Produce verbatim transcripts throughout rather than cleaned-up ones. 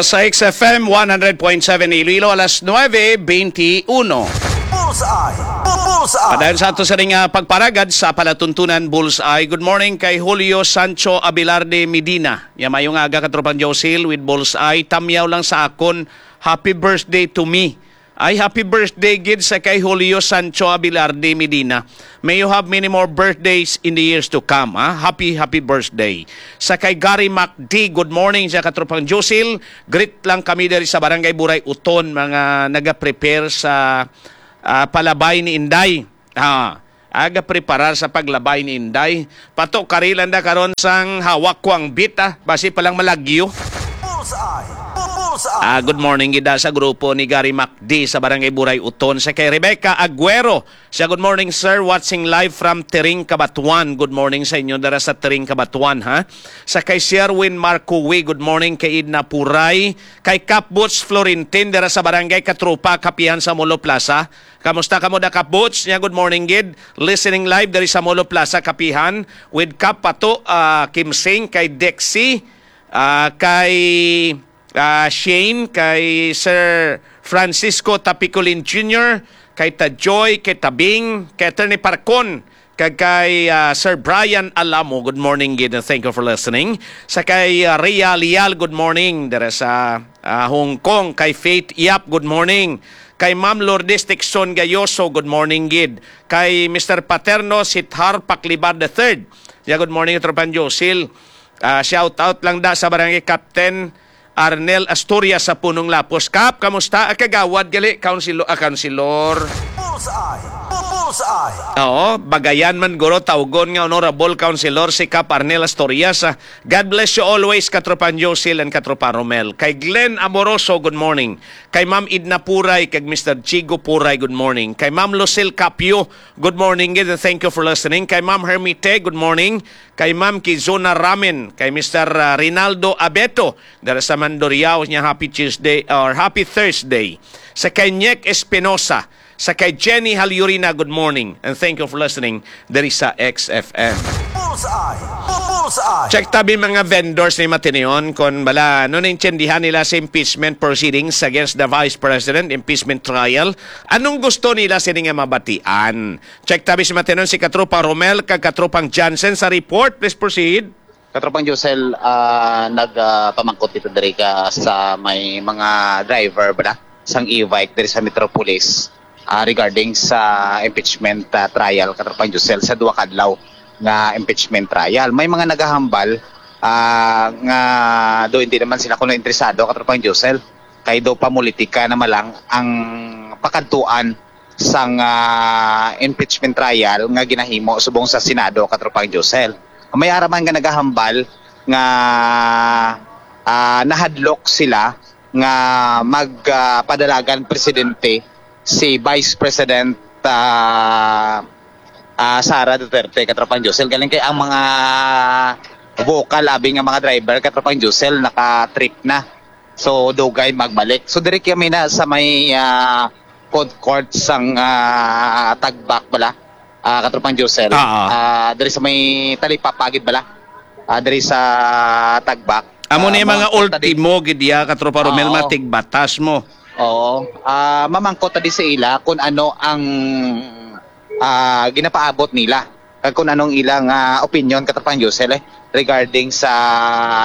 Sa X F M one hundred point seven Iloilo, alas nuebe beintiuno. Bullseye! Bu- Bullseye! Padayon sa ato sa ring, ah, pagparagad sa palatuntunan Bullseye. Good morning kay Julio Sancho Abelarde Medina. Ya, mayong aga, katropang Josil with Bullseye. Tamyaw lang sa akon, happy birthday to me. Ay, happy birthday gid sa kay Julio Sancho Abelarde Medina. May you have many more birthdays in the years to come, ha? Happy, happy birthday. Sa kay Gary Mac D, good morning sa katropang Josil. Greet lang kami diri sa Barangay Buray Uton, mga naga-prepare sa, ah, palabay ni Inday. Ah, aga preparar sa paglabay ni Inday. Pato, karilan da karon sang hawak ko ang bit, ah. Basi pa lang malagyo. Bullseye! Bu- Bullseye! Ah, good morning gid da sa grupo ni Gary Macdi sa Barangay Buray Uton. Sa kay Rebecca Aguero, siya, "Good morning, sir. Watching live from Tering, Cabatuan." Good morning sa inyo dara sa Tering, Cabatuan, ha. Sa kay Sherwin Marcowi, good morning. Kay Idna Puray, kay Kap Boots Florentin dara sa Barangay Katrupa, Kapihan sa Molo Plaza. Kamusta kamo da, Kap Boots? Nya, good morning gid. Listening live diri sa Molo Plaza, Kapihan, with Kap Pato, ah, Kimsing, kay Dexy, ah, kay, ah, Shane, kay Sir Francisco Tapicolin Junior, kay Ta Joy, kay Tabing, kay Attorney Parcon, kag kay, ah, Sir Brian Alamo. Good morning gid, and thank you for listening. Sa kay, ah, Rhea Lial, good morning. Dere sa, ah, Hong Kong, kay Faith Yap, good morning. Kay Ma'am Lourdes Tixon Gayoso, good morning gid. Kay Mister Paterno Sithar Paclibar the third. Yeah, good morning, Tropan Josil. Ah, shout out lang da sa Barangay Captain Arnel Asturias sa Punong Lapos. Kap, kamusta? Ah, kagawad gali, councilor, ah, councilor. Bullseye! Bu- Bullseye! Oo, bagayan man guro tawgon nga honorable councilor si Kap Arnel Asturias. Ah, God bless you always, Katropan Josil and Katropa Romel. Kay Glenn Amoroso, good morning. Kay Ma'am Idna Puray, kag Mister Chigo Puray, good morning. Kay Ma'am Lucille Capio, good morning, and thank you for listening. Kay Ma'am Hermite, good morning. Kay Ma'am Kizuna Ramen, kay Mister, ah, Rinaldo Abeto, dara sa Mandurriao, niya, happy Tuesday or happy Thursday. Sa kay Nyek Espinosa, sa kay Jenny Halyurina, good morning, and thank you for listening diri sa X F M. Bullseye! Bu- Bullseye! Check tabi mga vendors ni Matineon kon bala, ano, naintindihan nila sa impeachment proceedings against the Vice President, impeachment trial. Anong gusto nila sini nga mabatian? Check tabi si Matineon, si Katropa Romel kag Katropang Jansen sa report. Please proceed. Katropang Josel, ah, nag, ah, pamangkot dito diri ka sa may mga driver ba na sang e-bike diri sa Metropolis, ah, regarding sa impeachment, ah, trial, Katropang Josel, sa duha ka adlaw nga impeachment trial. May mga nagahambal, ah, nga do hindi naman sila kuno interesado, Katropang Josel, kay do pamulitika naman lang ang pakadtuan sang, ah, impeachment trial nga ginahimo subong sa Senado, Katropang Josel. May ara man nga nagahambal nga, ah, nahadlok sila nga mag, ah, padalagan presidente si Vice President, ah, ah, Sara Duterte, Katropang Josel. Galing kay ang mga vocal abi nga mga driver, Katropang Josel, naka-trip na. So, dugay magbalik. So, diri kami na sa may, ah, food court sang, ah, Tagbak bala. Ah, Katropang Josel. Ah, ah. Ah, diri sa may talipapa gid bala. Ah, diri sa Tagbak. Amo Ah, ni mga mangkot ta di- ultimo gid ya, Katropa Romel, Oo. Matigbatas mo. Oo. Ah, mamangkot ta di sa ila kung ano ang, ah, ginapaabot nila. Kag kung anong ilang, ah, opinion, Katropang Josel, eh, regarding sa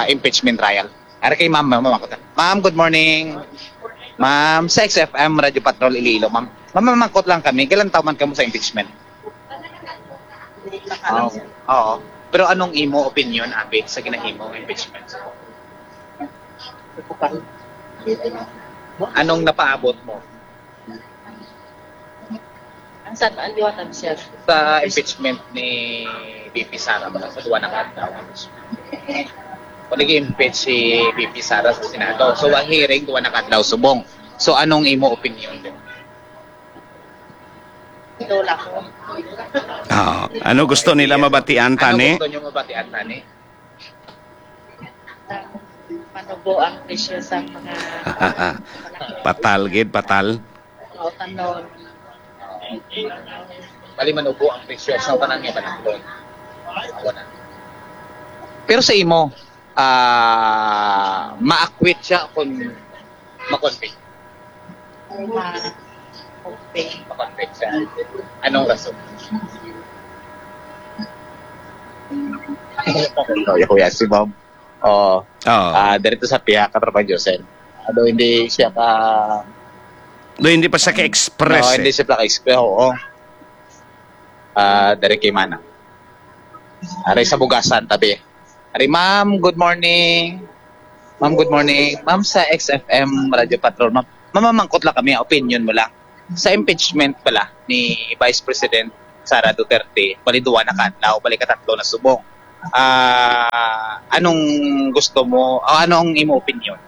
impeachment trial. Ara kay Ma'am, Ma'am, Ma'am, Ma'am, good morning. Ma'am, sa X F M Radio Patrol Iloilo, Ma'am. Ma'am, mamangkot lang kami, kailan taon man kamo sa impeachment? Oo. Oo. Pero anong imo opinion, abi, sa ginahimo nga impeachment? Anong napaabot mo? Ang sa ang liwatan, sir. Sa impeachment ni V P Sara, mga sa duwa na ka adlaw. Kung nag-impeach si V P Sara sa Senado, so ang hearing, duwa na ka adlaw subong. So anong imo opinion din? Lola ko. Ah, ano gusto nila mabatian, tani? Ano gusto nyo mabatian, tani? Manubo ang presyo sa mga Patal gid, patal. O, tanon. Bali, manubo ang presyo sa tanan nga banaklon. Wala. Pero sa imo, ah, Ma-acquit siya kung ma-convict. Ma-convict. Ma-convict siya. Anong rason? Ikaw, kuya, si ma'am. Oo. Oo. Ah, diri to sa pihak ka Tropa Josel. Although hindi siya ka Do hindi pa siya ka-express, No, eh. hindi siya ka-express. Oo. Ah, diri kay Mana. Ari sa bugasan, tabi. Ari, ma'am, good morning. Ma'am, good morning. Ma'am, sa X F M Radio Patrol, ma'am. Mamamangkot lang kami, opinion mo lang. Sa impeachment pala ni Vice President Sara Duterte, bali duwa na ka adlaw, bali katatlo na subong. Ah, anong gusto mo, o ano ang imo opinion?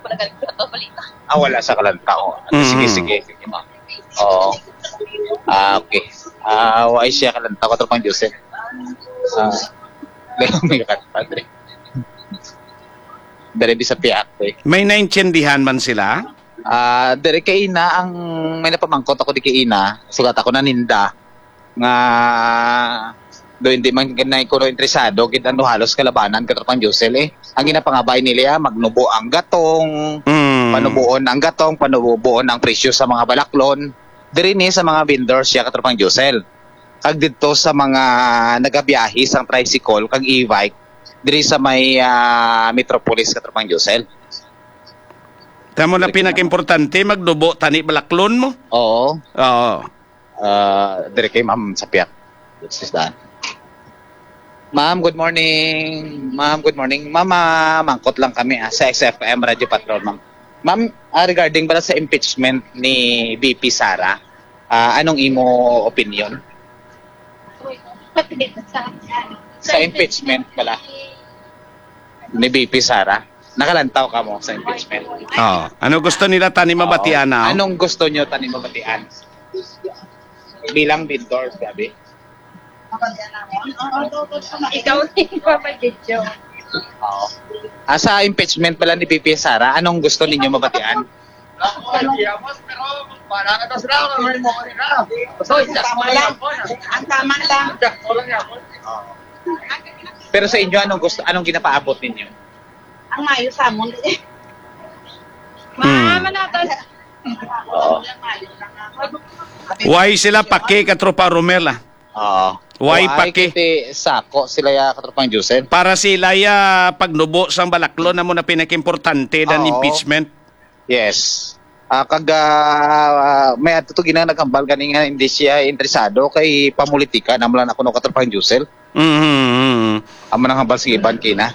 Wala ka nagpataw balita. Ah, wala sa kalantaw. Sige, Mm. sige, sige, ma'am. Oo. Ah, okay. Ah, wala siya kalantaw, Katropang Joseph. Ah, dali may kakat, padre. Dali di sa piak, eh. May naintindihan man sila? Ah, diri kay ina ang may napamangkot ako di kay ina. Sugat ako naninda nga do hindi man gid na kuno interesado gid ano halos kalabanan, Katropang Josel, eh. Ang ginapangabay nila, magnubo ang gatong, Mm. panubuon ang gatong, panubuon ang presyo sa mga balaklon. Diri ni sa mga vendors siya, Katropang Josel. Kag didto sa mga nagabiyahe sang tricycle kag e-bike diri sa may, ah, Metropolis, Katropang Josel. Tamo na pinakaimportante, magnubo tani balaklon mo. Oo. Oo. Ah, diri kay Ma'am Sapiak. Sis Dan. Ma'am, good morning. Ma'am, good morning. Ma'am, ah, mangkot lang kami, ah, sa X F M Radio Patrol, ma'am. Ma'am, ah, regarding pala sa impeachment ni V P Sara, ah, anong imo opinion? Sa impeachment pala ni V P Sara, nakalantaw ka mo sa impeachment? Oh, ano gusto nila tani mabatian Oo. na? Anong gusto nyo tani mabatian? Bilang vendor, sabi. Ikaw na yung mabagidyo. Oo. Ah, sa impeachment pala ni V P Sara, anong gusto ninyo mabatian? Tama lang. Ang tama lang. Pero sa inyo, anong gusto, anong ginapaabot ninyo? Ang mayo sa amon, eh. Hmm. Mama natin. Oo. Why sila paki, Katropa Romel, ah? Oo. Why Why paki? Kiti sako sila ya, Katropang Josel? Para sila ya pagnubo sang balaklon, amo na pinakaimportante than Oo. impeachment. Yes. Ah, kag, ah, may ato to ginang naghambal gani nga hindi siya interesado kay pamulitika na lang ako no, Katropang Josel. Mhm, mhm. Amo nang hambal sa iban kina.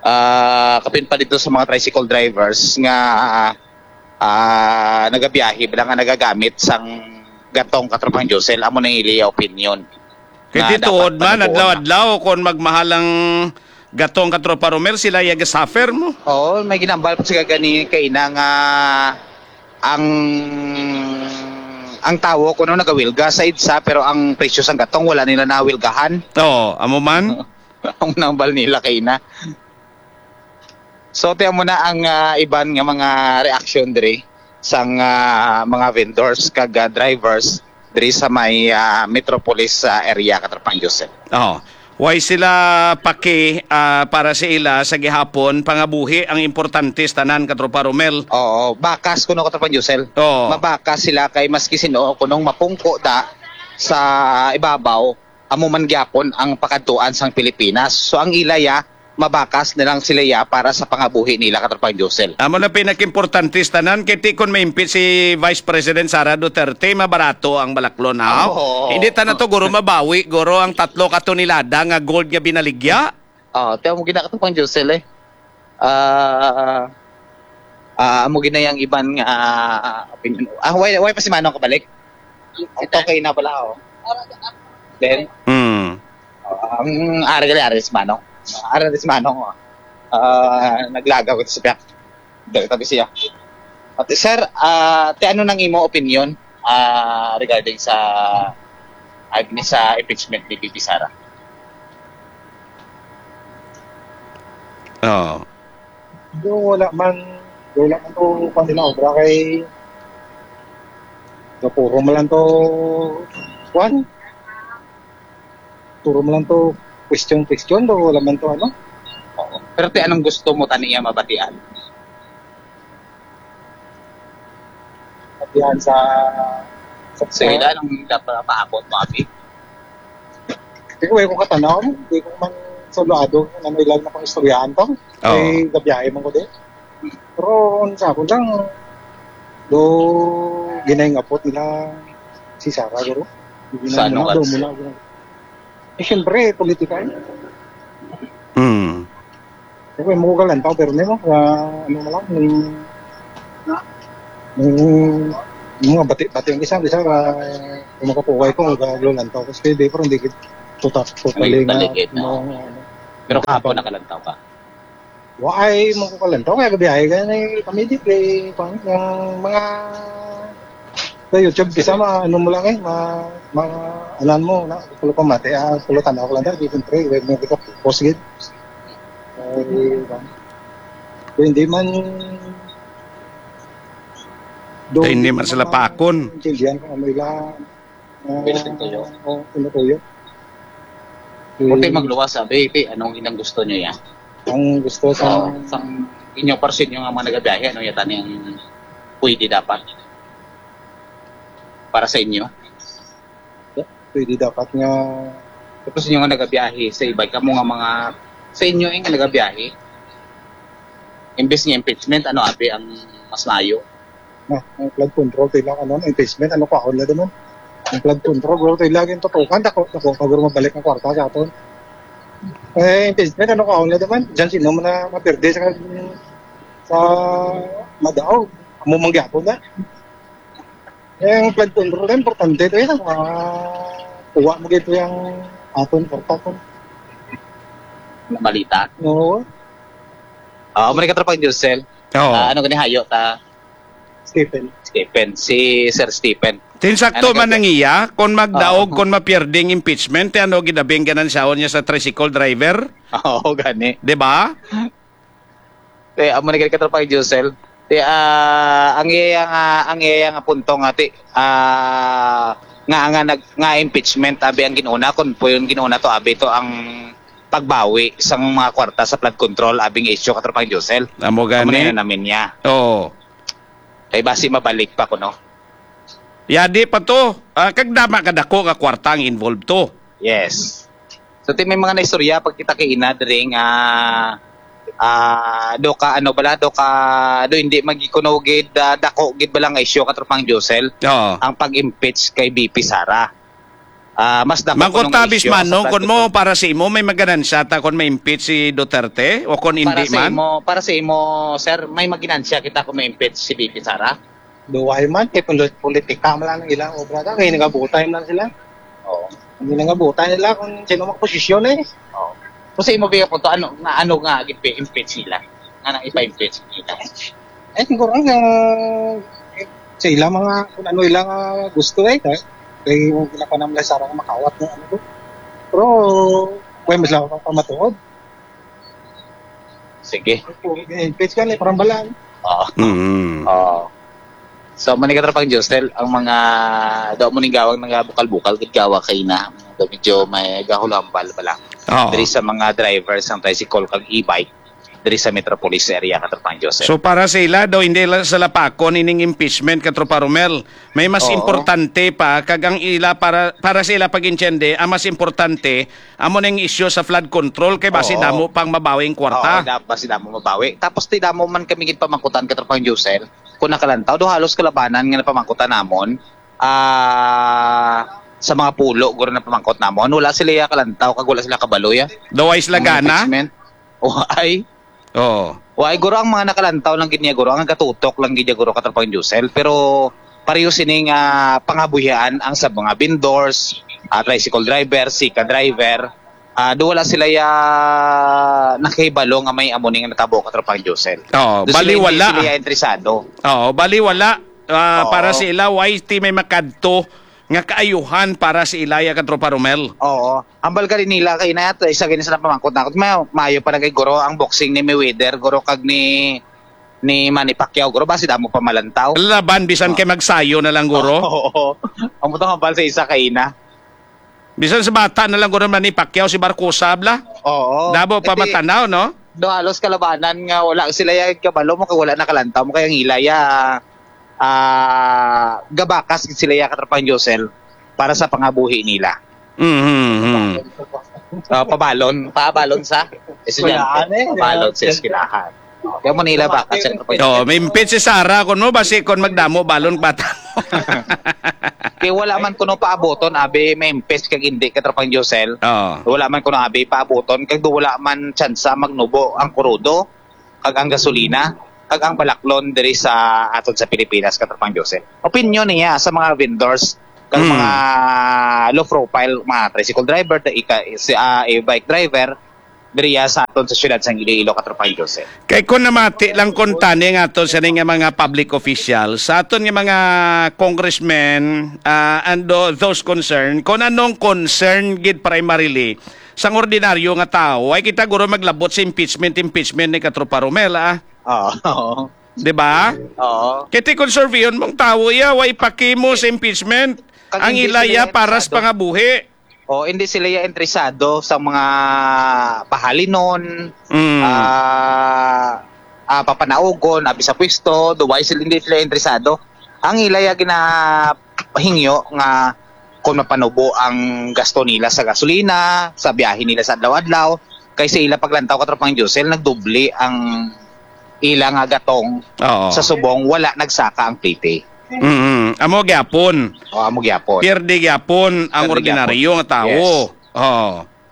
Ah, kapin pa dito sa mga tricycle drivers nga, ah, nagabiyahe, bala nga nagagamit sang gatong, Katropang Josel, amo na iliya opinion. Kay Nga di dapat tuod man, panuboon na. adlaw-adlaw, kung magmahal ang gatong, Katropa Romel, sila ya gasuffer mo. Oo, may ginambal pa siya gani kay ina nga ang, ang tawo kuno nagawilga sa idsa, pero ang presyo sang gatong wala nila nawilgahan. Oo, amo man. Ang nambal nila kay ina. So, tiyan mo na ang, ah, iban nga mga reaksyon diri sang, ah, mga vendors kag, ah, drivers diri sa may, ah, Metropolis, ah, area, Katropang Joseph. Oh. Why sila paki, ah, para sa ila sa gihapon, pangabuhi ang importante sa tanan, Katropa Romel? Oo, bakas kuno, Katropang Josel. Oo. Mabakas sila kay maski sino kunong mapungko da sa ibabaw, amo man gyapon ang pakadtuan sang Pilipinas. So, ang ila ya, mabakas na lang sila ya para sa pangabuhi nila, Katropang Josel. Amo na pinakimportante sa tanan, kay ti kon ma-impeach si Vice President Sara Duterte, mabarato ang balaklon, ha? Oo. Hindi ta na to, guro, mabawi, guro, ang tatlo ka tonelada nga gold nga binaligya. Oh, tiyan mo gina, Katropang Josel, eh. Ah, ah, amo gina yang iban nga, ah, opinion. Ah, why, why pa si Manong kabalik? Okay na pala, oh. Then, Hmm. oh, ang ari gali, ari si Manong. Ari si Manong, oh. Ah, naglagaw ito sa piyak. Dali tabi siya. At, sir, ah, ti ano nang imo opinion, ah, regarding sa, ay, ni sa impeachment ni V P Sara? Oo. Do, wala man, wala man to, kwan, sila obra kay, do, puro man lang to, kwan? Puro man lang to, question, question, do, wala man to, ano? Oo. Pero ti, anong gusto mo tani iya mabatian? Mabatian sa, sa Sige, anong dapat paabot mo, abi? Di ko, eh, kung katanaw, di ko man sulado kung ano ilang na pang istoryahan to. Oo. Kay gabiyahe man ko di. Pero, sa ako lang, do, ginahingapot nila si Sara, guro. Sa ano, mga ka- do mo na, guro. Eh, siyempre, politika, eh. Mm. Okay, mo ko kalantaw, pero nimo, ah, ano na lang, yung, yung, yung mga bati, bati ang isa, isa, ah, kung makapuway ko, magkalantaw ko. Kasi di, pero hindi ko tutak, Ano totally yung nga, talikid na? Ano, ano. Pero kahapon nakalantaw ka? Wa ay mo ko kalantaw, kaya gabi ay, kaya na yung kami di, kay, kung, yung mga, sa YouTube, bisa ma, ano mo lang eh, ma, ma, anan mo, na, pulo pa mati, ah, pulo tanaw ko lang, dahil, siyempre, wag mo ko post gid. Ay, ba? Hindi man, Hindi man sila pakon. Hindi yan kung ano ila. Ah, Pwede din kayo. Oh, ano ko yun? Kunti magluwas, sabi, ti, anong inang gusto nyo yan? Ang gusto sa Oh, sang inyo, para sa inyo nga mga nagabiyahe, ano yata niyang pwede dapat? Para sa inyo? Pwede dapat nga Tapos inyo nga nagabiyahe sa iba, kamo nga mga, sa inyo, eh, nga nagabiyahe, imbes nga impeachment, ano, abi ang mas maayo? Na, ang flood control, tayo lang, ano, impeachment, ano, kwaon na naman. Ang flood control, bro, tayo lagi yung tutukan, dako, dako, pag mabalik ang kwarta sa aton. Eh, impeachment, ano, kwaon na naman. Diyan, sino man na mapirde sa, sa madaog? Amo manggyapo na. Yung flood control, importante ito, yun. Ah, kuha mo dito yung aton, kwarta ko. Na balita? Oo. Ah, amo ni katropang Josel. Oo. Ah, ano gani hayo ta? Stephen. Stephen, si Sir Stephen. Tinsakto Ano man kasi ang iya, kung magdaog, Oo. kung mapierding impeachment, ti ano ginabing ganansyaon niya sa tricycle driver? Oo, gani. Di ba? Ti, amo ni gani katropang Josel. Ti, ah, ang iya nga, ang iya nga punto nga, ti, ah, nga, nga nag-, nga impeachment, abi ang ginuna, kung po yung ginuna to, abi to ang pagbawi sang mga kwarta sa flood control, abing issue, katropang Josel. Amo Amo gani. na namin niya. Oo. Kay basi mabalik pa kuno. Yadi pa to. Ah, kag dama kadako nga kwarta ang involved to. Yes. So, ti may mga naistorya pag kita kay ina diri nga, ah, do ka, ano bala, do ka, do hindi magikuno gid, ah, dako gid bala nga isyu, katropang Josel, Oo. ang pag-impeach kay V P Sara. Ah, mas dako Mangkot kuno nga ta, isyu Bismano, sa kun mo, Platinum. Para sa imo, may maganansya ta kun ma-impeach si Duterte o kun Para hindi sa man? imo, para sa imo, sir, may maginansya kita kung ma-impeach si V P Sara? Duway man, kay poli-, politika man lang ang ilang obra ta, kay nagabutay man lang sila. Oo. Hindi nagabutay nila kung sino ang posisyon eh. Oo. Kung sa imo, Bea, kung to, ano, nga, ano nga, impeach sila? Nga nang ipa-impeach sila? Eh, siguro nga, eh, sa ila mga, kung ano ila nga gusto eh, kay, kay wala pa naman sa sarang makawat ng ano to. Pero, kaya mas lang pamatuod. Sige. Impeach ka ni, parang balaan. Oo. Mm. Oo. So, amo ni katropang Josel, ang mga, daw mo ning gawang nga bukal-bukal, gid gawa kay na, daw medyo may gahulambal bala. Oo. Diri sa mga driver sang tricycle kag e-bike, diri sa Metropolis area, katropang Josel. So, para sa ila, daw hindi lang sa lapakon ining impeachment, katropa Romel. May mas Oo. importante pa, kag ang ila para, para sa ila pag-intindi, ang mas importante, amo ning isyu sa flood control, kay basi Oo. damo pang mabawing kwarta. Oo, da-, basi damo mabawi. Tapos ti damo man kami gid pamangkutan, katropang Josel. Kung nakalantaw, do halos kalabanan nga napamangkutan namon, ah, sa mga pulo, guro napamangkot namon. Wala sila ya kalantaw, kag wala sila kabalo ya. Daw ay sila Ang gana? impeachment. O, ay. Oo. Wa, ay, guro, ang mga nakalantaw lang gid niya, guro, ang gatutok lang gid niya, guro, katropang Josel. Pero pareho sini nga pangabuhian ang sa mga vendors, ah, tricycle driver, sika driver, ah, do wala sila ya nakahibalo nga may amo ni nga natabo, katropang Josel. Oo, Do sila bali hindi wala. sila ya interesado. Oo, bali wala. Ah, Oo. Para sa ila, why ti may makadto nga kaayuhan para sa ila ya, katropa Romel? Oo. Hambal ka rin nila kay na, isa gani sa napamangkot na ako. May, maayo pa na kay guro ang boxing ni Mayweather, guro, kag ni, ni Manny Pacquiao, guro, basi damo pa malantaw. Laban, bisan Oo. kay magsayo na lang, guro. Oo. Ang butang hambal sa isa kay ina. Bisan sa bata na lang, guro, Manny Pacquiao, si Barcosa, bla? Oo. Damo pa Iti- matanaw, no? Do halos kalabanan nga wala sila ya kabalo mo kay wala nakalantaw mo kay ang ila ya, ah, gabakas gid sila ya, Katropang Josel, para sa pangabuhi nila. Mhm. Ah, pabalon, pabalon sa estudyante. Eskwelahan, eh. Pabalon sa eskwelahan. Kaya mo nila ba kasi Oh, may impit si Sara kon mo basi kon magdamo balon bata mo. Kay wala man kuno paabuton abi may impit kag hindi, Katropang Josel. Oo. Wala man kuno abi paabuton kag do wala man tsansa magnubo ang krudo kag ang gasolina kag ang balaklon diri sa aton sa Pilipinas, Katropang Josel. Opinyon niya sa mga vendors kag Hmm. mga low profile, mga tricycle driver, ika-, si, ah, e-bike driver, diriya sa aton sa siyudad sang Iloilo, Katropang Josel. Kay kung namati lang kung tani nga ato sini nga mga public official, sa aton nga mga congressmen, ah, and tho-, those concerned, kung anong concern gid primarily sang ordinaryo nga tawo, ay kita guro maglabot sa impeachment, impeachment ni Katropa Romel, ah. Oo. Di ba? Oo. Kay ti kung surveyhon mong tawo iya, way pakimo sa impeachment. Kag Ang hindi ila sila iya para sa interesado. Pangabuhi. O, hindi sila ya interesado sa mga pahalinon, Mm. ah, ah, papanaugon, abi sa pwesto, do why sila, hindi sila interesado. Ang ila ya ginahingyo nga kung mapanubo ang gasto nila sa gasolina, sa biyahe nila sa adlaw-adlaw, kay sa ila paglantaw, Katropang Josel, nagdoble ang ila nga gatong Oo. sa subong, wala nagsaka ang plete. Mm. Amo gyapon. O, amo gyapon. Pierde gyapon ang Pierde ordinaryo gyapon. nga tawo. Yes. Oo.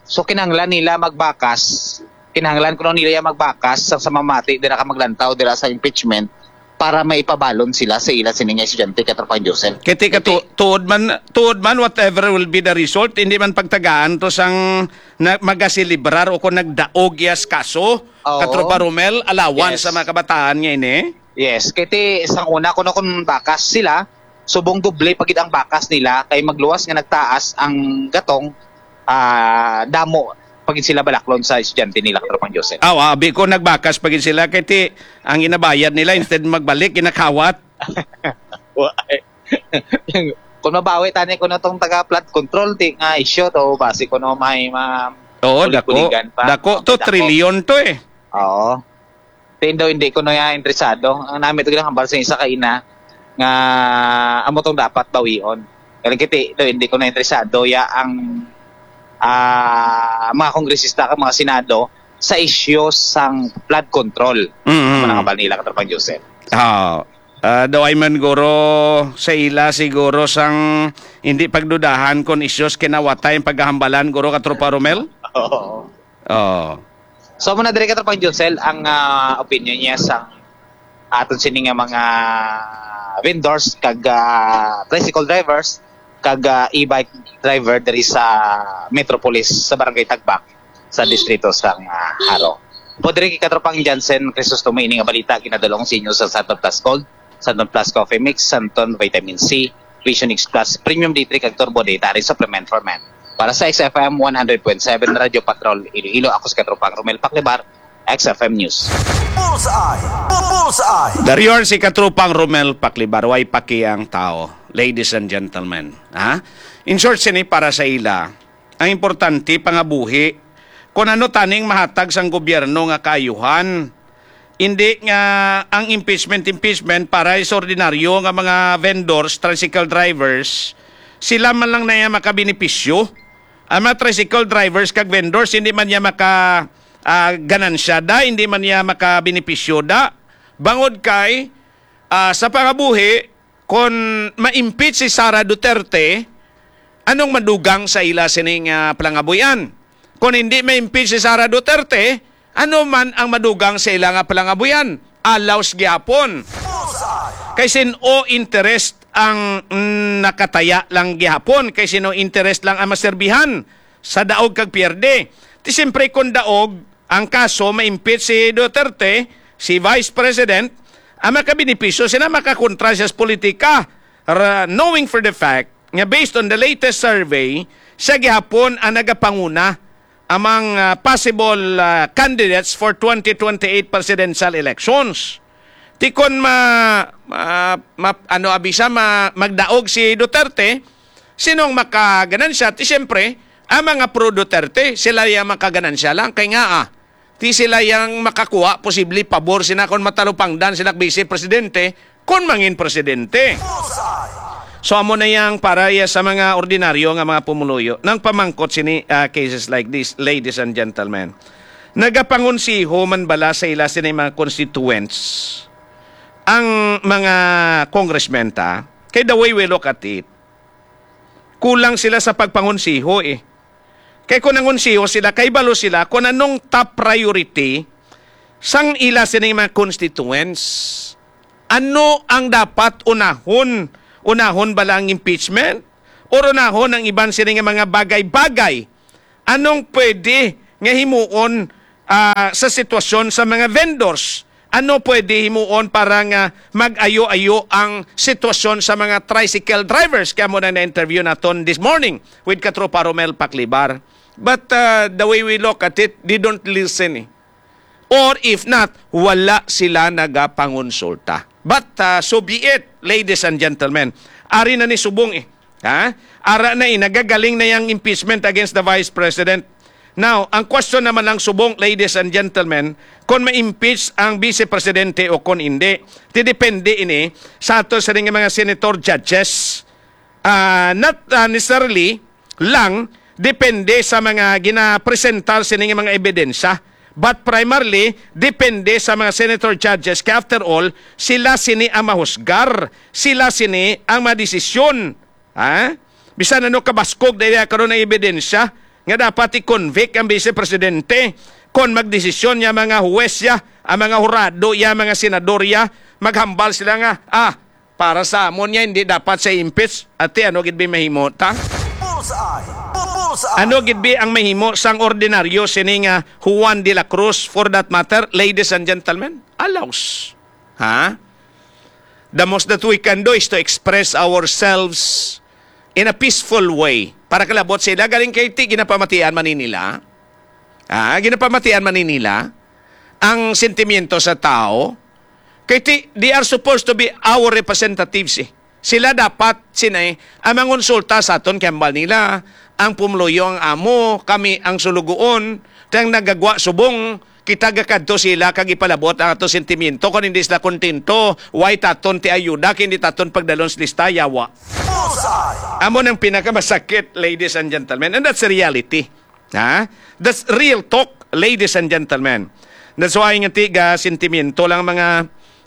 So, kinahanglan nila magbakas, kinahanglan kuno nila ya magbakas sa, sa mamati dira ka maglantaw dira sa impeachment para maipabalon sila sa ila sini nga estudyante, Katropang Josel. Kay ti ka Kay ti- tu-, tuod man, tuod man, whatever will be the result, hindi man pagtagaan to sang na, magaselebrar o kung nagdaog ya sa kaso, Oo. Katropa Romel, allowance Yes. sa mga kabataan nga ini. Yes, kay ti sang una kuno kung bakas sila, subong doble pa gid ang bakas nila kay magluwas nga nagtaas ang gatong, ah, damo pa gid sila balaklon sa estudyante nila, Katropang Joseph. Aw, abi ko nagbakas pa gid sila kay ti ang ginabayad nila instead magbalik ginakawat. Wa-, kung mabawi tani kuno tong taga flood control, ti nga isyu to, basi kuno may ma-, Oo, dako. kulig-kuligan pa. Dako to, Dako. trilyon to eh. Oo. Ti daw hindi kuno ya interesado. Ang nami to ginahambal sa isa ka ina nga amo tong dapat bawion. Kaya kiti daw hindi kuno interesado ya ang, ah, mga kongresista kag mga senado sa isyu sang flood control. Mm. Ang mga hambal nila, Katropang Joseph. Ah, ah, daw ay man guro sa ila siguro sang hindi pagdudahan kon isyu sa kinawatay ang pagkahambalan, guro, Katropa Romel? Oo. Oo. So, amo na diri, Katropang Josel, ang, ah, opinion niya sa aton sini nga mga vendors kag, ah, tricycle drivers kag, ah, e-bike driver diri sa Metropolis sa Barangay Tagbak sa distrito sang, ah, Jaro. Amo diri kay Katropang Jansen Crisostomo ini nga balita ginadul-ong sa inyo sa Santon Plus Gold, Santon Plus Coffee Mix, Santon Vitamin C, Vision X Plus, Premium D three kag Turbo Dietary Supplement for Men. Para sa X F M one hundred point seven Radyo Patrol Iloilo, ako si Katropang Romel Paclibar, X F M News. Bullseye! Bullseye! Dario si Katropang Romel Paclibar, way paki ang tao, ladies and gentlemen. Ha? In short, sini para sa ila, ang importante, pangabuhi. Kung ano taning mahatag sang gobyerno nga kaayuhan, hindi nga ang impeachment, impeachment para sa ordinaryo nga mga vendors, tricycle drivers, sila man lang na iya makabenepisyo. Ang mga tricycle drivers kag vendors, hindi man niya maka, ah, ganansya da, hindi man niya makabenepisyo da. Bangod kay, ah, sa pangabuhi, kon ma-impeach si Sara Duterte, anong madugang sa ila sining, ah, palangabuyan? Kon hindi ma-impeach si Sara Duterte, ano man ang madugang sa ila nga palangabuyan? Alaws gihapon. Kay sin-o interest ang, mm, nakataya lang gihapon, kay sin-o interest lang ang maserbihan sa daog kag pierde. Ti siyempre, kung daog ang kaso, ma-impeach si Duterte, si Vice President, ang makabenepisyo sila, makakontra siya sa politika. Ra-, knowing for the fact nga based on the latest survey, siya gihapon ang nagapanguna among, ah, possible, ah, candidates for twenty twenty-eight presidential elections. Ti kon ma-, ma-, ma-, ano, abisa, ma-, magdaog si Duterte, sinong makaganansya? Ti siyempre, ang mga pro Duterte, sila yung makaganansya lang. Kay nga, ah, Ti sila yang makakuha, posible pabor sina kon matalupangdan sila vice presidente, kon mangin presidente. So, amo na yang para ya sa mga ordinaryo nga mga pumuluyo nang pamangkot sini, ah, cases like this, ladies and gentlemen. Nagapangonsiho man bala sa ila sini mga constituents ang mga congressmen ta? Kay the way we look at it, kulang sila sa pagpangonsiho eh. Kay kung nangonsiho sila, kay balo sila kung anong top priority sang ila sining mga constituents. Ano ang dapat unahon? Unahon bala ang impeachment? Or unahon ang iban sining mga bagay-bagay? Anong pwede nga himuon, ah, sa sitwasyon sa mga vendors? Ano pwede himuon para nga mag-ayo-ayo ang sitwasyon sa mga tricycle drivers? Kaya mo na na-interview naton this morning with Katropa Romel Paclibar. But, ah, the way we look at it, they don't listen eh. Or if not, wala sila nagapangonsulta. But, ah, so be it, ladies and gentlemen. Ari na ni subong eh. Ha? Ara na eh, nagagaling na yang impeachment against the Vice President. Now, ang question naman lang subong, ladies and gentlemen, kung ma-impeach ang Vice Presidente o kung hindi, ti depende ini sa ato sa mga senator judges. Ah, not, ah, necessarily lang depende sa mga ginapresentar sining mga ebidensya, but primarily depende sa mga senator judges, kay after all, sila sini ang mahusgar, sila sini ang madesisyon. Ha? Bisan ano kabaskog na iya karon ang ebidensya nga dapat i-convict ang vice presidente, kon magdesisyon ya mga huwes ya, ang mga hurado ya, mga senador ya, maghambal sila nga, ah, para sa amon niya, hindi dapat sa impeach. Ate, ano gid bi mahimo ta? Bullseye! Bullseye! Ano gid bi ang mahimo sang ordinaryo sini nga Juan de la Cruz, for that matter, ladies and gentlemen? Alaws. Ha? The most that we can do is to express ourselves in a peaceful way. Para kalabot sila, galing kay ti ginapamatian man ni nila. Ah, ginapamatian man ni nila ang sentimiento sa tao. Kay ti, they are supposed to be our representatives eh. Sila dapat sinay ang mangonsulta sa aton, kay hambal nila, ang pumuluyo ang amo, kami ang sulugoon, kay ang nagagwa subong, kita gakadto sila kag ipalabot ang ato sentimiento. Kung hindi sila kontento, why taton ti ayuda, kay hindi taton pagdalon sa lista, yawa. Bullseye! Amo nang pinakamasakit, ladies and gentlemen, and that's the reality. Ha? That's real talk, ladies and gentlemen. That's why nga ti ga sentimiento lang mga,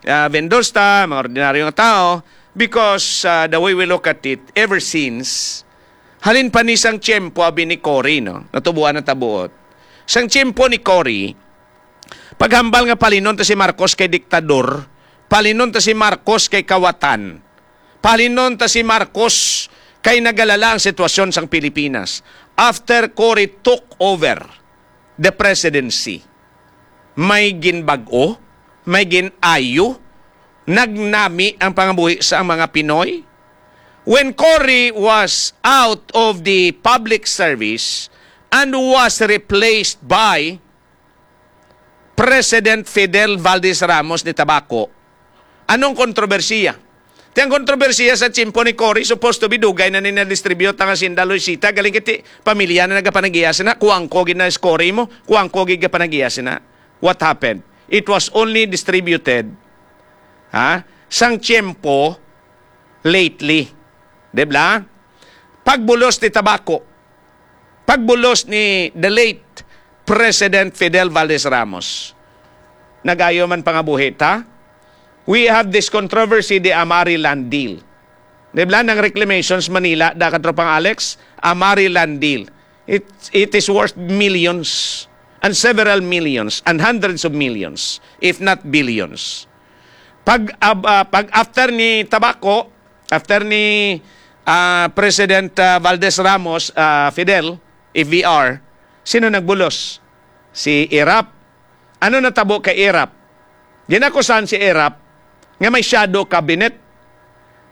ah, vendors ta, mga ordinaryo nga tao, because, ah, the way we look at it, ever since, halin pa ni sang tiyempo abi ni Cory, no? Natubuan na tabuot. Sang tiyempo ni Cory, paghambal nga palinon ta si Marcos kay diktador, palinon ta si Marcos kay kawatan, palinon ta si Marcos kay nagalala ang sitwasyon sang Pilipinas. After Cory took over the presidency, may ginbag-o, may gin-ayo, nagnami ang pangabuhi sa mga Pinoy. When Cory was out of the public service and was replaced by President Fidel Valdez Ramos ni Tabaco, anong kontrobersiya? Ti ang kontrobersiya sa tiyempo ni Cory, supposed to be dugay na ni na-distribute ang hacienda Luisita, galing kiti pamilya na nagapanagiya sina, kuwangko gid na si Cory mo, kuwangko gid gapanagiya sina. What happened? It was only distributed, ha, sang tiyempo lately. Di ba? Pagbulos ni Tabaco, pagbulos ni the late President Fidel Valdez Ramos, nagayo man pangabuhi ta. We have this controversy, the Amari Land Deal. Di ba, nang reclamations Manila, da katropang Alex, Amari Land Deal. It, it is worth millions and several millions and hundreds of millions, if not billions. Pag, ab-, ah, pag after ni Tabaco, after ni, ah, President, ah, Valdez Ramos, ah, Fidel, F V R, sino nagbulos? Si Erap. Ano natabo kay Erap? Ginakusan si Erap nga may shadow cabinet.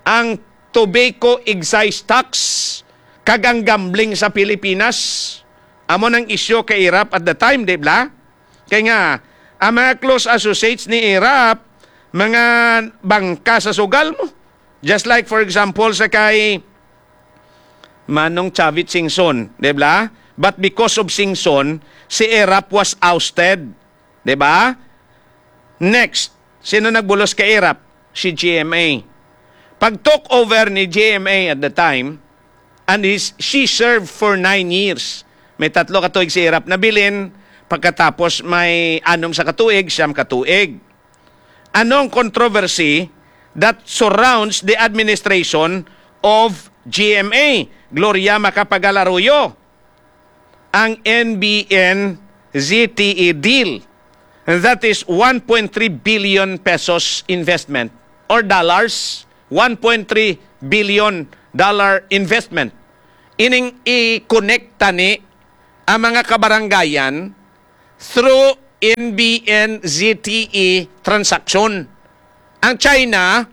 Ang tobacco excise tax kag ang gambling sa Pilipinas, amo nang isyu kay Erap at the time, di ba? Kay nga, ang mga close associates ni Erap, mga bangka sa sugal mo. Just like, for example, sa kay Manong Chavit Singson, di ba? But because of Singson, si Erap was ousted. Di ba? Next, sino nagbulos kay Erap? Si G M A. Pag took over ni G M A at the time, and his, she served for nine years. May tatlo ka tuig si Erap nabilin, pagkatapos may anom sa katuig, siyam ka tuig. Anong controversy that surrounds the administration of G M A? Gloria Macapagal Arroyo, ang N B N Z T E deal. That is one point three billion pesos investment or dollars, one point three billion dollar investment. Ining i-connect tani ang mga kabaranggayan through N B N Z T E transaction. Ang China,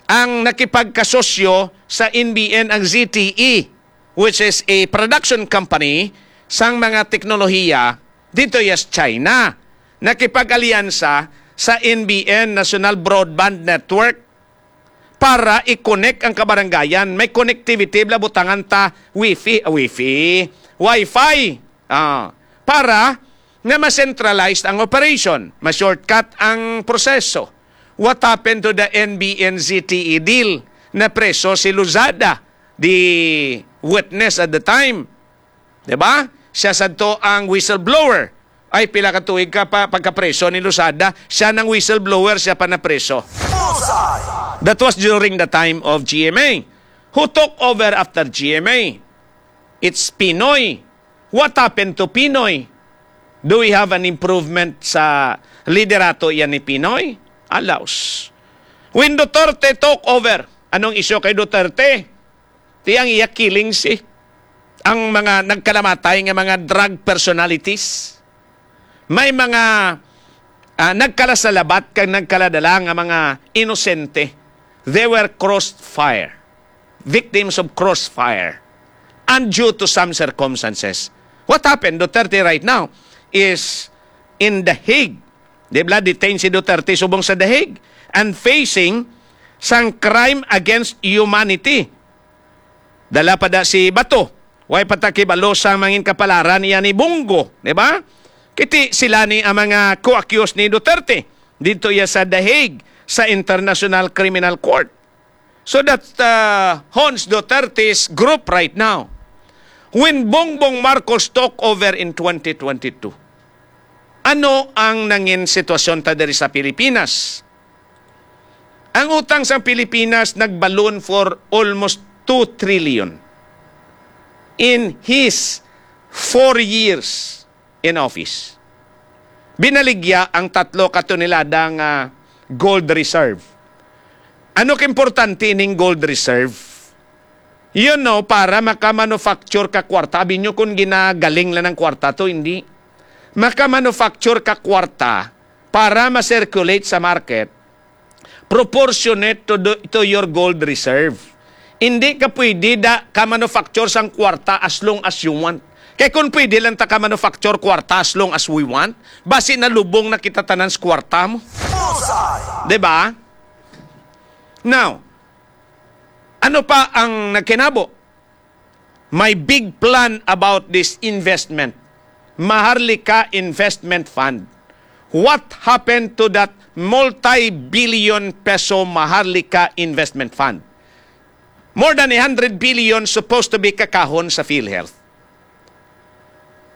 ang nakipagkasosyo sa N B N ang Z T E, which is a production company sang mga teknolohiya dito sa China. Nakipag-alyansa sa N B N, National Broadband Network, para i-connect ang kabaranggayan. May connectivity, bala butangan ta wifi, ah, wifi, wifi. Ah, para nga ma-centralized ang operation, ma-shortcut ang proseso. What happened to the N B N Z T E deal? Napreso si Lozada, the witness at the time. Di ba? Siya sadto ang whistleblower. Ay, pila ka tuig ka pa pagkapreso ni Lozada, siya nang whistleblower, siya pa napreso. Bullseye! That was during the time of G M A. Who took over after G M A? It's Pinoy. What happened to Pinoy? Do we have an improvement sa liderato yan ni Pinoy? Alaus. When Duterte took over, anong isyu kay Duterte? Ti ang iya killing si ang mga nagkalamatay nga mga drug personalities. May mga, ah, nagkalasalabat kag nagkaladala nga mga inosente. They were crossfire, victims of crossfire, and due to some circumstances. What happened? Duterte right now is in The Hague. Di ba, detained si Duterte subong sa The Hague and facing sang crime against humanity. Dala pa da si Bato. Way pa ta kibalo sa mangin kapalaran niya ni Bongo, di ba? Kiti sila ni ang mga co-accused ni Duterte dito ya sa The Hague sa International Criminal Court. So that, uh, haunts Duterte's group right now. When Bongbong Marcos took over in twenty twenty-two, ano ang nangin sitwasyon ta diri sa Pilipinas? Ang utang sang Pilipinas nagbalon for almost two trillion in his four years in office. Binaligya ang tatlo ka tonelada nga gold reserve. Ano ka importante ning gold reserve? You know, para maka-manufacture ka kwarta. Abi nyo kung ginagaling lang ng kwarta to, hindi. Maka-manufacture ka kwarta para ma-circulate sa market proportionate to, the, to your gold reserve. Hindi ka pwede da ka manufacture sang kwarta as long as you want. Kay kung pwede lang ta ka manufacture kwarta as long as we want, basi nalubong na kita tanan sa kwarta mo. Bullseye! Di ba? Now, ano pa ang nagkinabo? My big plan about this investment, Maharlika Investment Fund. What happened to that multi-billion peso Maharlika Investment Fund? More than a hundred billion supposed to be kakahon sa PhilHealth.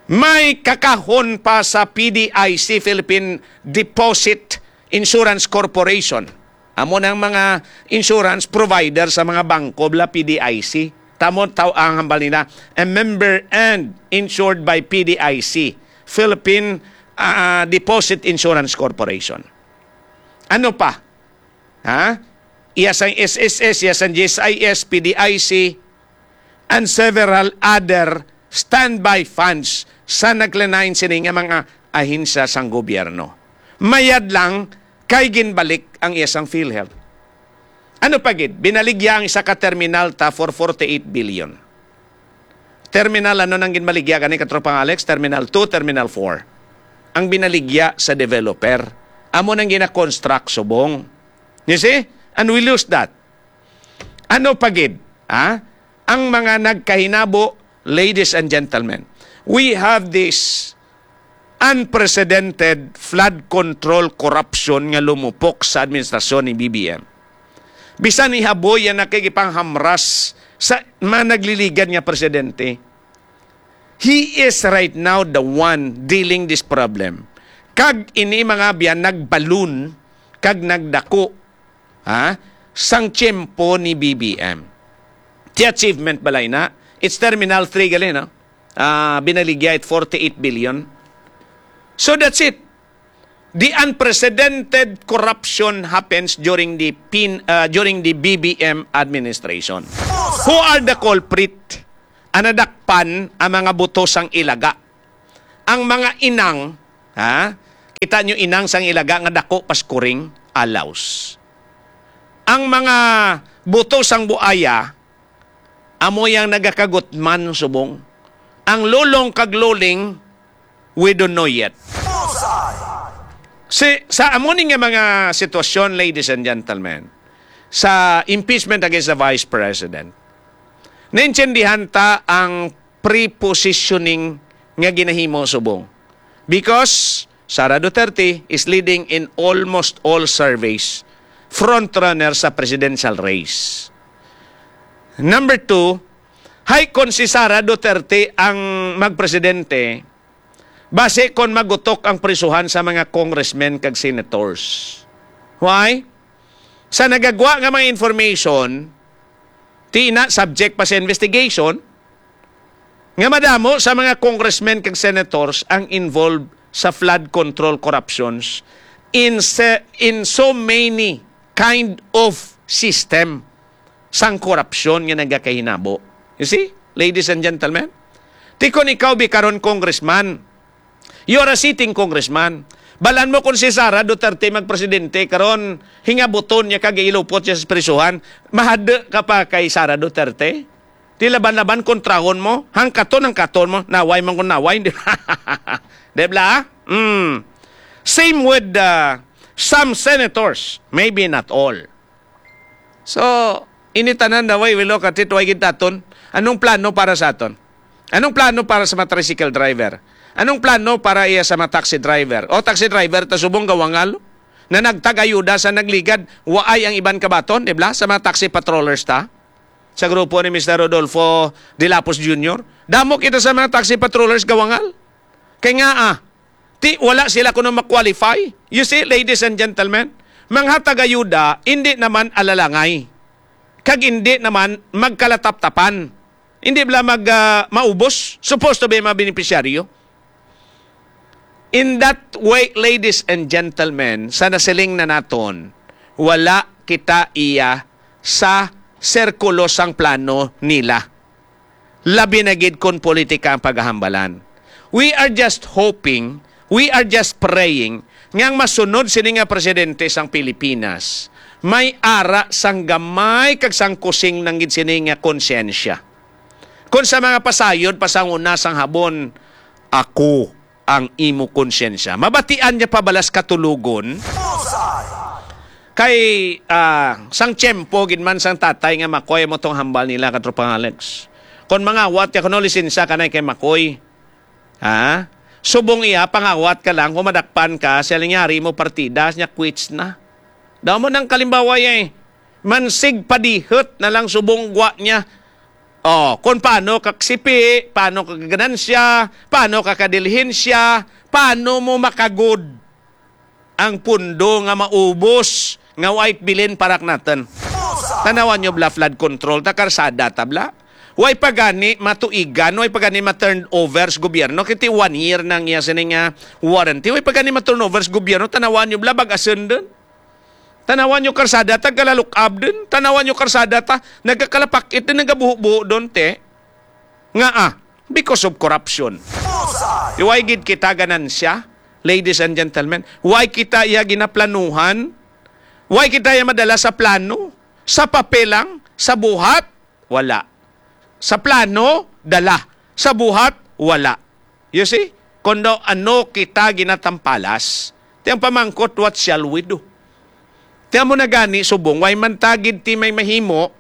May kakahon pa sa P D I C, Philippine Deposit Insurance Corporation. Amo nang mga insurance provider sa mga bangko, bala P D I C. Tamo taw ang hambal nila, a member and insured by P D I C, Philippine, ah, Deposit Insurance Corporation. Ano pa? Ha? Iya sang S S S, iya sang G S I S, P D I C, and several other standby funds sa nagkalain-lain sini nga mga ahensya sang gobyerno. Mayad lang kay ginbalik ang iya sang PhilHealth. Ano pa gid? Binaligya ang isa ka terminal ta for forty-eight billion. Terminal, ano nang ginbaligya gani, Katropang Alex? Terminal two, Terminal four. Ang binaligya sa developer. Amo nang gina-construct subong. You see? And we lose that. Ano pa gid, ha? Ang mga nagkahinabo, ladies and gentlemen, we have this unprecedented flood control corruption nga lumupok sa administrasyon ni B B M. Bisan ni Haboy yan nakikipanghamras sa mga nagliligad nga presidente. He is right now the one dealing this problem. Kag ini, mga abyan, nagbalon kag nagdako, ha, sang tiyempo ni B B M. Ti achievement balay na, it's Terminal three gali, no? Ah, binaligya it forty-eight billion. So that's it. The unprecedented corruption happens during the pin, uh, during the B B M administration. Who are the culprit? Ang nadakpan ang mga buto sang ilaga. Ang mga inang, ha? Kita nyo, inang sang ilaga nga dako pas kuring, alaws. Ang mga buto sang buaya, amo yang nagakagutman subong. Ang lulong kag luling, we don't know yet. Si, sa amo ni nga mga sitwasyon, ladies and gentlemen, sa impeachment against the Vice President, naintindihan ta ang pre-positioning nga ginahimo subong. Because Sara Duterte is leading in almost all surveys. Frontrunner sa presidential race. Number two, hay, kon si Sara Duterte ang magpresidente, basi kon magutok ang prisuhan sa mga congressmen kag senators. Why? Sa nagagwa nga mga information, ti na subject pa sa investigation, nga madamo sa mga congressmen kag senators ang involved sa flood control corruptions in se-, in so many kind of system sang korupsyon nga nagakahinabo. You see, ladies and gentlemen? Ti kon ikaw bi karon congressman, you are a sitting congressman. Balan mo kung si Sara Duterte magpresidente karon, hingabuton niya kag ilupot siya sa prisuhan, mahadlok ka pa kay Sara Duterte? Di laban-laban kontrahon mo, hangkaton, hangkaton mo, naway man kung naway, di ba? Di ba? Mm. Same with, uh, some senators, maybe not all. So, ini tanan daw, we look at it, way gid aton. Anong plano para sa aton? Anong plano para sa mga tricycle driver? Anong plano para iya sa mga taxi driver? O, taxi driver, ta subong gawangal na nagtag-ayuda sa nagligad, waay ang iban kabaton, di ba? Sa mga taxi patrollers ta, sa grupo ni Mister Rodolfo De Lapos Junior, damo kita sa mga taxi patrollers gawangal. Kay nga, ah, ti, wala sila kuno ma-qualify. You see, ladies and gentlemen, mga tagayuda, hindi naman alalangay. Kag hindi naman magkalataptapan. Hindi bala mag, ah, maubos. Supposed to be mga beneficiaryo. In that way, ladies and gentlemen, sa nasiling na naton, wala kita iya sa sirkulo sang plano nila. Labi na gid kon politika ang paghahambalan. We are just hoping, we are just praying nga ang masunod sini nga presidente sang Pilipinas may ara sang gamay kag sang kusing lang gid sini nga konsyensya. Kon sa mga pasayod pa sang una sang habon, ako ang imo konsyensya. Mabatian niya pa bala sa katulogon? Kay, ah, sang tiyempo gid man sang tatay nga Makoy mo tong hambal nila, Katropang Alex. Kon mangawat ka kuno lisensya kanay kay Makoy, ha? Subong iya, pangawat ka lang, kung madakpan ka, siya lang yari mo partida, niya quits na. Daw mo nang kalimbawa eh. Mansig padihot na lang subong gwa niya. Oh, kung paano ka kasipi, paano ka ganansya, paano ka kadilihensya, paano mo makagod ang pundo nga maubos nga way bilin para naton. Tanawan nyo bala, flood control ta, karsada ta bala. Way pa gani matuigan, way pa gani ma-turn over sa gobyerno. Kiti one year nang iya sini nga warranty. Way pa gani ma-turn over sa gobyerno. Tanawan nyo bala, bag-ason dun. Tanawan nyo karsada ta, galalukab dun. Tanawan nyo karsada ta, nagkakalapakit dun, nagabuho-buho dun, te. Nga, ah, because of corruption. Di way gid kita ganansya, ladies and gentlemen. Way kita iya ginaplanuhan. Way kita iya madala sa plano. Sa papel lang, sa buhat, wala. Sa plano, dala. Sa buhat, wala. You see? Kung daw ano kita ginatampalas, ti ang pamangkot, what shall we do? Ti amo na gani, subong, way man ta gid ti may mahimo,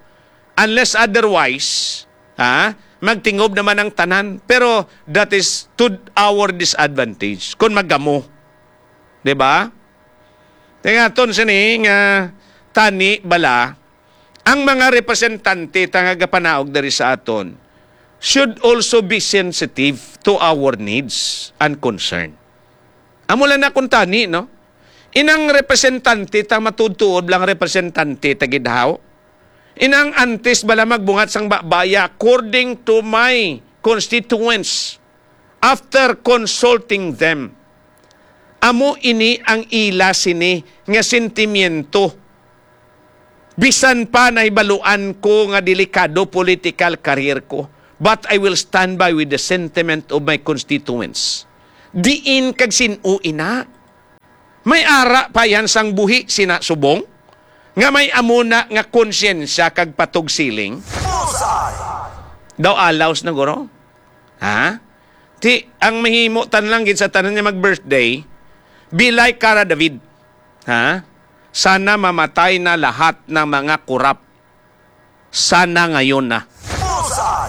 unless otherwise, ha? Magtingob naman ang tanan, pero that is to our disadvantage kung magamo. Di ba? Tingaton sini nga tani bala, ang mga representante ta nga gapanaog diri sa aton should also be sensitive to our needs and concern. Amo lang na kung tani, no? Inang representante ta matuod-tuod lang representante ta gid, haw? Inang antes bala magbungat sang babaya according to my constituents, after consulting them. Amo ini ang ila sini nga sentimiento. Bisan pa nahibaluan ko nga delikado political career ko, but I will stand by with the sentiment of my constituents. Diin kag sin-o ina? May ara pa yan sang buhi sina subong? Nga may amo na nga konsyensya kag patugsiling? Daw alaws na, guro? Ha? Ti, ang mahimo tan lang gid sa tanan nga mag-birthday, be like Cara David. Ha? Sana mamatay na lahat ng mga korap. Sana ngayon na.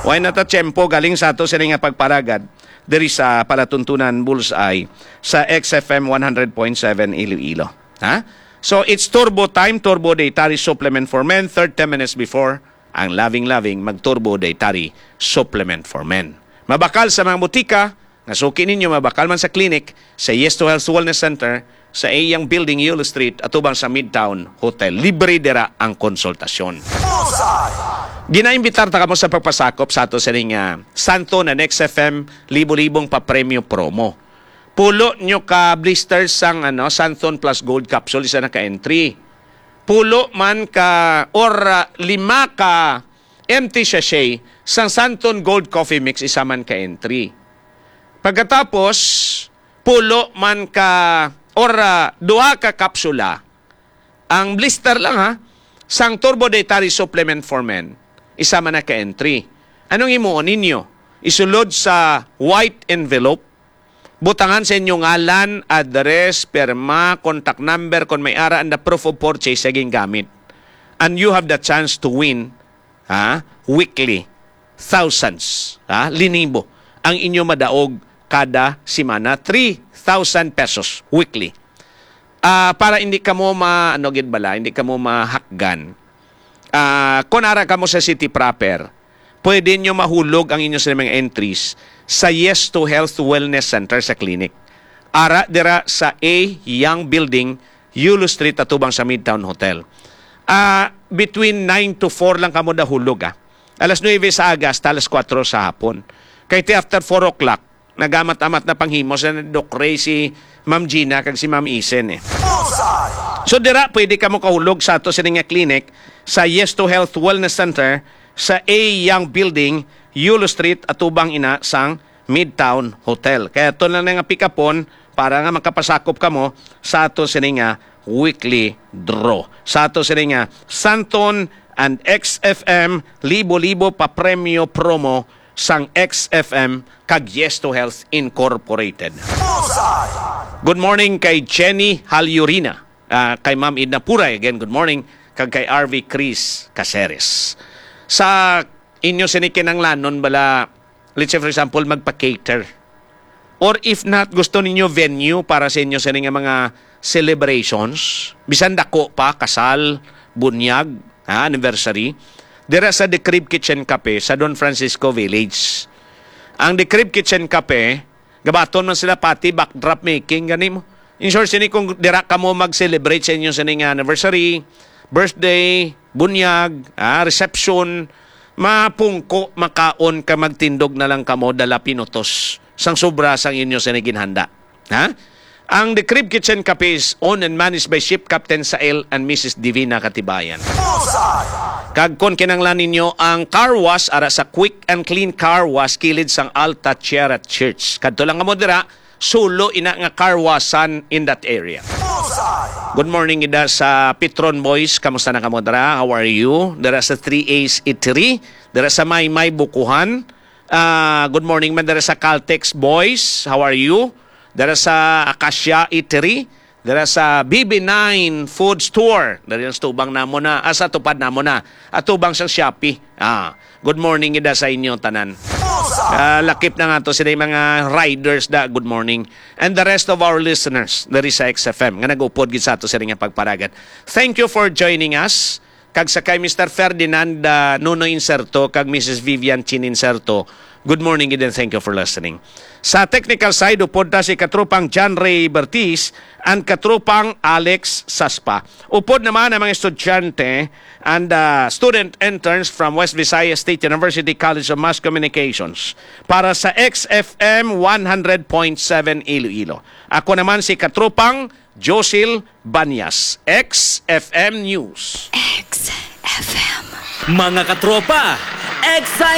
Way na ta tiyempo galing sa ato sini nga pagparagad diri sa palatuntunan Bullseye sa X F M one hundred point seven Iloilo. Ha? So, it's Turbo Time, Turbo Dietary Supplement for Men, thirty minutes before ang Loving Loving mag-Turbo Dietary Supplement for Men. Mabakal sa mga butika, nga suki ninyo, mabakal man sa clinic, sa Yes to Health Wellness Center, sa Eyang Building, Yulo Street, atubang sa Midtown Hotel. Libre dira ang konsultasyon. Ginaimbitar ta kamo sa pagpasakop sa ato sining, ah, Santon and X F M libo-libong papremyo promo. Pulo nyo ka blisters sang, ano, Santon Plus Gold Capsule, isa na ka entry. Pulo man ka or, ah, lima ka empty sachet sang Santon Gold Coffee Mix, isa man ka entry. Pagkatapos, pulo man ka or, ah, duha ka kapsula. Ang blister lang, ha, sang Turbo Dietary Supplement for Men, isa man na ka entry. Anong himuon ninyo? Isulod sa white envelope, butangan sa inyo ngalan, address, pirma, contact number, kung may ara, and the proof of purchase sa gingamit. And you have the chance to win, ha, weekly, thousands, ha, linibo ang inyo madaog kada semana, three thousand pesos weekly. Ah, para hindi kamo ma-, ano gid bala, hindi kamo mahakgan. Ah, kung ara kamo sa city proper, pwede nyo mahulog ang inyo sa mga entries sa Yes to Health Wellness Center sa clinic. Ara dira sa A Young Building, Yulo Street, atubang sa Midtown Hotel. Ah, between nine to four lang kamo nahulog, ah. Alas nuebe sa aga hasta alas kuwatro sa hapon. Kay ti after four o'clock, nagamat-amat na panghimo sa Doc Ray, si Ma'am Gina, kag si Ma'am Isen, eh. So, dira, pwede kamo kahulog sa ato sini nga clinic sa Yes to Health Wellness Center sa A Young Building, Yulo Street, atubang ina sang Midtown Hotel. Kaya ito na nga pick-upon para nga makapasakop kamo sa ato sini nga weekly draw. Sa ato sini nga Santon and X F M Libo-Libo Papremyo Promo sang X F M kag Yes to Health Incorporated. Good morning kay Jenny Halyurina, ah, kay Ma'am Edna Puray, again, good morning, kag kay R V Chris Caceres. Sa inyo sini kinanglanon bala, let's say, for example, magpa-cater. Or if not, gusto ninyo venue para sa inyo sini nga mga celebrations, bisan dako pa, kasal, bunyag, ha, anniversary, dira sa The Crib Kitchen Cafe sa Don Francisco Village. Ang The Crib Kitchen Cafe, gabaton man sila pati backdrop making, gani mo. In short, sini kung dira kamo mag-celebrate sa inyo sini nga anniversary, birthday, bunyag, ah, reception, mapungko, makaon ka, magtindog na lang kamo, dala pinutos sang sobra sang inyo sini ginhanda. Ha? Ang The Crib Kitchen Cafe is owned and managed by Ship Captain Sael and Missus Divina Katibayan. Kag kon kinanglan ninyo ang car wash, ara sa Quick and Clean Car Wash, kilid sang Alta Sierra Church. Kadto lang kamo dira, sulo ina nga car washan in that area. Good morning, ida sa Petron Boys. Kamusta na kamo dira? How are you? Dira sa Three A's Eatery, dira sa Maymay, Bukuhan. Ah, good morning man dira sa Caltex Boys. How are you? Dira sa Acacia Eatery, dira sa B B nine Food Store. Diri ang tubang namo na, ah, sa tupad namo na. Atubang sang Shopee. Ah, Good morning gid sa inyo tanan. Ah, lakip na nga to sila yung mga riders da, good morning. And the rest of our listeners diri sa X F M nga nag-upod gid sa ato sila nga pagparagat. Thank you for joining us. Kag sa kay Mister Ferdinand, ah, Nuno Inserto kag Missus Vivian Chin Inserto, good morning gid and thank you for listening. Sa technical side, upod ta si Katropang John Ray Bertiz and Katropang Alex Saspa. Upod naman ang mga estudyante and, ah, student interns from West Visayas State University College of Mass Communications para sa X F M one hundred point seven Iloilo. Ako naman si Katropang Josil Banyas, X F M News. X F M. Mga katropa, excited